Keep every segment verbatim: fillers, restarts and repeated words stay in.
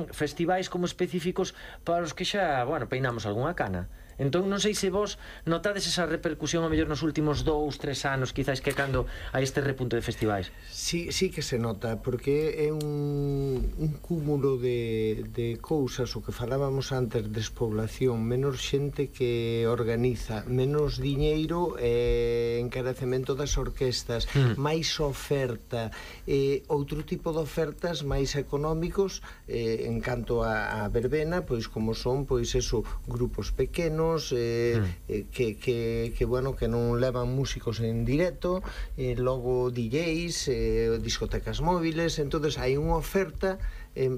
tamén festivais como específicos para os que xa, bueno, peinamos algunha cana. Entón non sei se vos notades esa repercusión ao mellor nos últimos dous, tres anos, quizáis, que cando a este repunte de festivais. Sí, sí que se nota, porque é un, un cúmulo de, de cousas, o que falábamos antes, despoblación, menos xente que organiza, menos diñeiro e encarecemento das orquestas, mm. máis oferta, eh, outro tipo de ofertas máis económicos, eh, en canto a, a verbena, pois como son, pois eso, grupos pequenos, Eh, mm. eh, que, que, que, bueno, que non levan músicos en directo, eh, logo D Js, eh, discotecas móviles. Entonces hai unha oferta eh,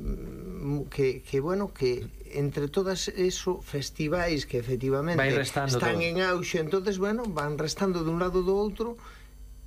que, que, bueno, que entre todas eso, festivais que efectivamente están todo en auxe, entonces, bueno, van restando de un lado do outro,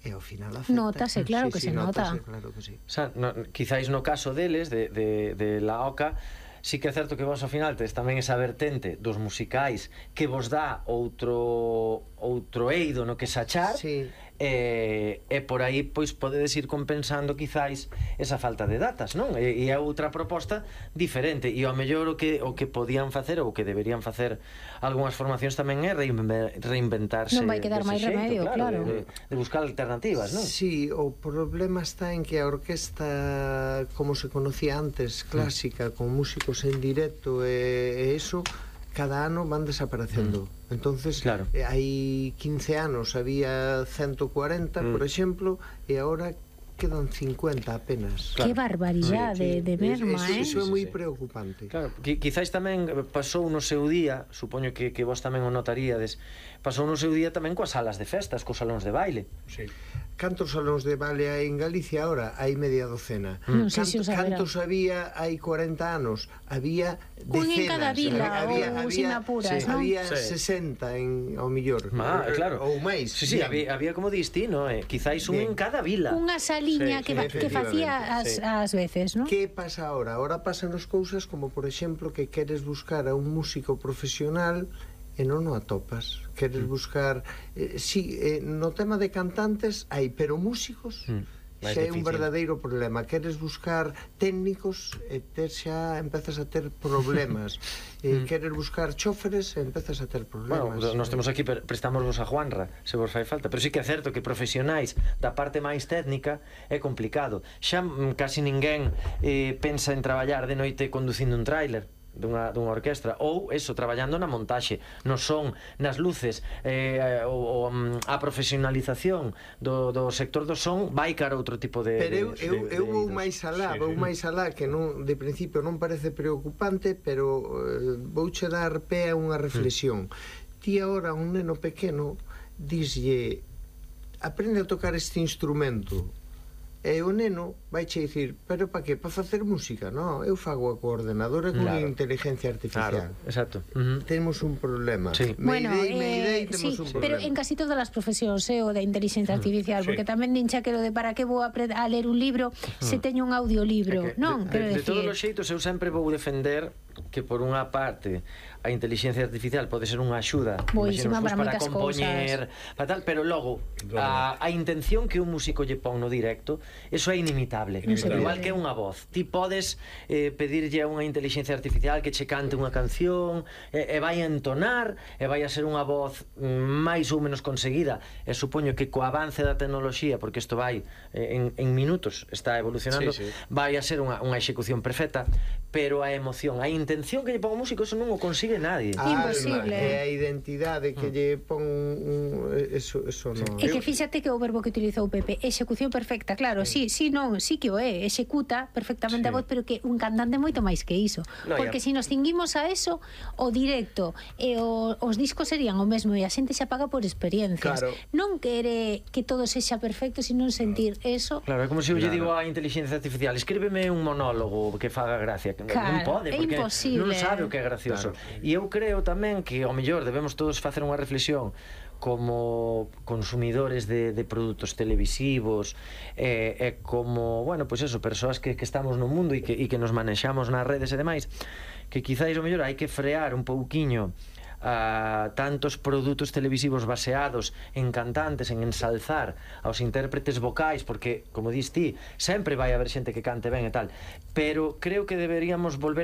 e ao final afecta. Nótase, claro sí, que sí, se nota. Nótase, claro que sí. O sea, no, quizáis no caso deles, de, de, de La Oca, sí que é certo que vos ao final tedes tamén esa vertente dos musicais que vos dá outro outro eido no que sachar, sí. e, e por aí pois podedes ir compensando quizáis esa falta de datas, non? E, e é outra proposta diferente, e ao mellor o que, o que podían facer ou o que deberían facer algunhas formacións tamén é reinventarse. Non vai quedar máis remedio, claro, claro. De, de buscar alternativas, non? Sí, o problema está en que a orquesta, como se conocía antes, clásica, mm. con músicos en directo e, e eso, cada ano van desaparecendo. Mm. Entonces, claro. eh, hai quince anos había ciento cuarenta, mm. por exemplo, e agora quedan cincuenta apenas. Claro. Que barbaridade sí, sí. de merma, eh? Eso, eso é moi preocupante. Claro, quizáis tamén pasou no seu día, supoño que, que vos tamén o notaríades, pasou no seu día tamén coas salas de festas, cos salóns de baile. Sí. Cantos salóns de baile hai en Galicia ahora? Hai media docena. Non sei Canto, se cantos había hai cuarenta anos? Había decenas. Un en cada vila, había, ou había, sin apuras, sí, non? había sí. sesenta en, ao millor. Ah, claro. Ou máis. Sí, sí, había, había como distino, eh? Quizáis un Bien. en cada vila. Unha saliña sí, que, sí, que facía as, sí. as veces, non? Que pasa ahora? Ahora pasan as cousas como, por exemplo, que queres buscar a un músico profesional e non o atopas. Queres buscar eh, sí, eh, no tema de cantantes hai, pero músicos mm, xa é un verdadeiro problema. Queres buscar técnicos e ter xa empezas a ter problemas. eh, mm. Queres buscar choferes e empezas a ter problemas. Bueno, nós temos aquí, prestámosvos a Juanra se vos fai falta, pero sí que é certo que profesionais da parte máis técnica é complicado. Xa casi ninguén eh, pensa en traballar de noite conducindo un tráiler dunha, dunha orquestra, ou eso, traballando na montaxe, no son, nas luces, eh, o, o, a profesionalización do, do sector do son vai cara outro tipo de... Pero eu, de, eu, de, eu de vou máis alá, sí, vou sí. máis alá, que non, de principio non parece preocupante, pero eh, vouche dar pé a unha reflexión. Mm. Ti agora, un neno pequeno, dislle, aprende a tocar este instrumento, e o neno vai che dicir, pero pa que? Pa facer música? Non, eu fago a coordenadora con claro. inteligencia artificial. Claro, exacto. Uh -huh. Temos un problema. Sí. Bueno, Mayday, eh, Mayday, temos sí, un problema. pero en casi todas as profesións, eh, o da inteligencia artificial, sí. porque tamén nincha que lo de para que vou a, a ler un libro se teño un audiolibro, que, non? De, de, de decir... todos os xeitos, eu sempre vou defender que por unha parte a inteligencia artificial pode ser unha axuda Boísima para, para compoñer, para tal, pero logo a, a intención que un músico lle pon no directo, eso é inimitable. inimitable. Igual que unha voz. Ti podes eh, pedirlle a unha inteligencia artificial que che cante unha canción e, e vai a entonar e vai a ser unha voz máis ou menos conseguida, e supoño que co avance da tecnoloxía, porque isto vai eh, en, en minutos, está evolucionando, sí, sí. vai a ser unha, unha execución perfecta, pero a emoción, a intención que lle pon o músico, eso non o consigue nadie. A imposible. É a identidade que lle pon un, eso, eso non. É que fíxate que o verbo que utilizou Pepe, execución perfecta, claro, sí, sí, non, sí que o é, executa perfectamente sí. a voz, pero que un cantante moito máis que iso. No, porque ya. Se nos cinguimos a eso, o directo e o, os discos serían o mesmo e a xente se apaga por experiencias. Claro. Non quere que todo sexa perfecto, sino sentir claro. eso. Claro, é como se eu lle digo á inteligencia artificial, escríbeme un monólogo que faga gracia. Claro, non pode, porque imposible. non sabe o que é gracioso. Claro. E eu creo tamén que ao mellor debemos todos facer unha reflexión como consumidores de, de produtos televisivos e, e como, bueno, pois pues eso, persoas que, que estamos no mundo e que, e que nos manexamos nas redes e demais, que quizáis ao mellor hai que frear un pouquiño a tantos produtos televisivos baseados en cantantes, en ensalzar aos intérpretes vocais, porque, como dis ti, sempre vai haber xente que cante ben e tal, pero creo que deberíamos volver